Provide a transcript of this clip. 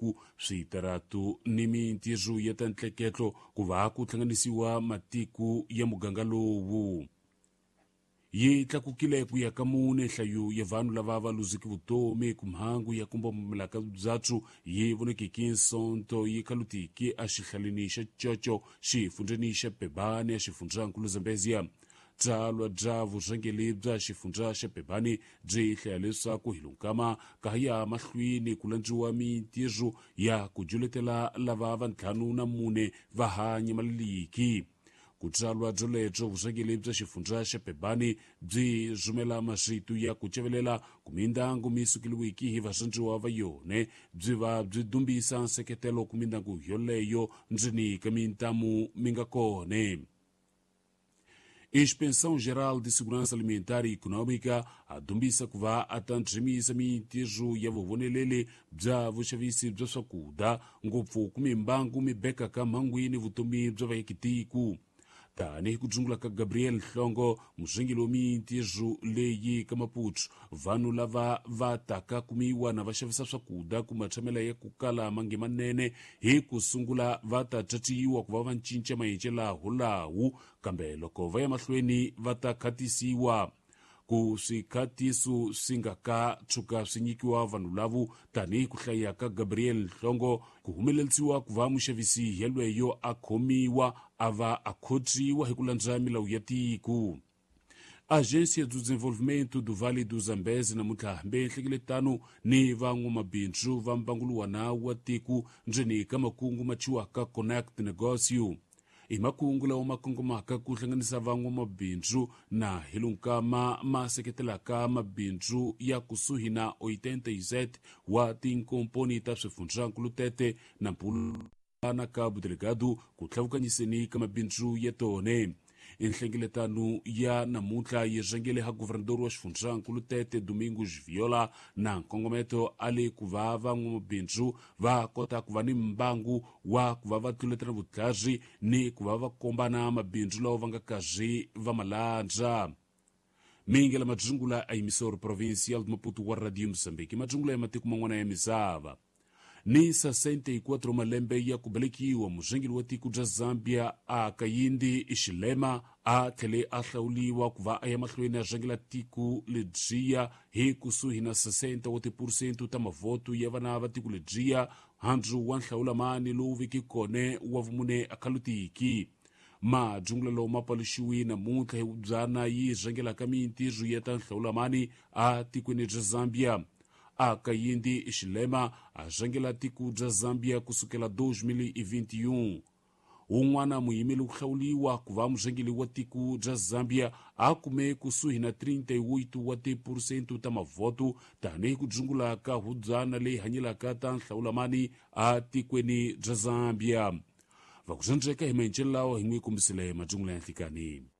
Matiko, switaratu ni mintirho ya ta ntleketlo ku va ku hlanganisiwa matiko ya muganga lowu. Yi tlakukile ku ya ka mune nhlayo ya vanhu lava va luzeke vutomi ku mhangu ya ku mbombomela ka byatso yi vonekeke Nsonto yi khalutiki exihlaleni xa Coco, xifundzheni xa Pebane, exifundzankulu Zambezia. Byalwa bya vurhangeri bya xifundza xa Pebane byi hlaya leswaku hi lonkama ka ya mahlweni ku landziwa mintirho ya ku juletela lava va 54 va ha nyamaleliki. Ku byalwa byolebyo, vurhangeri bya xifundza xa Pebane byi rhumela marito ya ku cevelela ku mindyangu mi sukeliwiki hi varhandziwa va yone, byi va byi dumbisa nseketelo ku mindyangu yoleyo ndzeni ka mintamu mi nga kone. Inspeção Geral de Segurança Alimentar e Econômica a dumbisa ku va a ta ndzimisa mintirho ya vuvoneleli bya vuxavisi bya swakudya, ngopfu ku mimbangu mi bekaka mhangwini vutomi bya vaakitiko. Tanihi ku dzungula ka Gabriel Nhlongo, murhangeri wa mintirho leyi ka Maputo, vanhu lava va taka kumiwa na va xavisa swakudya ku matshamela ya ku kala mange manene hi ku sungula va ta caciwa ku va va cinca maendlelo kambe loko va ya mahlweni va ta khatisiwa. Ku swikhatiso swi nga ka tshuka swi nyikiwa vanhu lavo, tanihi ku hlaya ka Gabriel Nhlongo, ku humelerisiwa ku va muxavisi yelweyo a khomiwa a va a khotsiwa hi ku landza milawu ya tiko. Agência do Desenvolvimento do Vale do Zambeze namuntlha hambe nhlengeletano ni van'wamabindzu va mbanguluwana wa tiko ndzeni ka makungu ma thyiwaka Connect Negócio. I makungu lawa ma kongomaka ku hlanganisa van'wamabindzu na hi lunkama ma seketelaka mabindzu ya kusuhi na 87 wa tinkomponi ta swifundzankulu tete na mpulana ka Budelegado ku tlhavukanyiseni ka mabindzu ya tone. Nhlengeletano ya namuntlha yi rhangele ha guvernador wa xifundzankulu Tete Domingos Viola na nkongometo a le ku va van'wamabindzu va kota ku va ni mbangu wa ku va va tluletela vutlhari ni ku va va kombana mabindzu lawa va nga karhi va ma landza. Mingela madzungula a emissora provincial de Maputo wa Radio Moçambique, madzungula ya matiko man'wana ya misava. Ni 64 malembe ya ku velekiwa, murhangeri wa tiko bya Zambia a Kayindi Xilema a tlhele a hlawuliwa ku va a ya mahlweni a rhangela tiko lebyiya hi kusuhi na 60 wa tiphurusente ta mavhoto ya vana va tiko lebyiya, handzu wa nhlawulamani lowu veke kone wa vumune akhalutiki. Madzungulelo ma paluxiwi namuntlha hi byana yi rhangelaka mintirho ya ta nhlawulamani a tikweni bya Zambia. A Kayindi Xilema a rhangela tiko bya Zambia kusukela 2021. Wun'wana muyimeli ku hlawuliwa ku va murhangeri wa tiko bya Zambia a kume kusuhi na 38 wa tiphurusente ta mavhoto, tanihi ku dzungula ka hubyana leyi hanyelaka ta nhlawulamani a tikweni bya Zambia. Va ku dzandzeka hi maendlelo lawa hi n'wi kombisile madzungula ya nhlikani.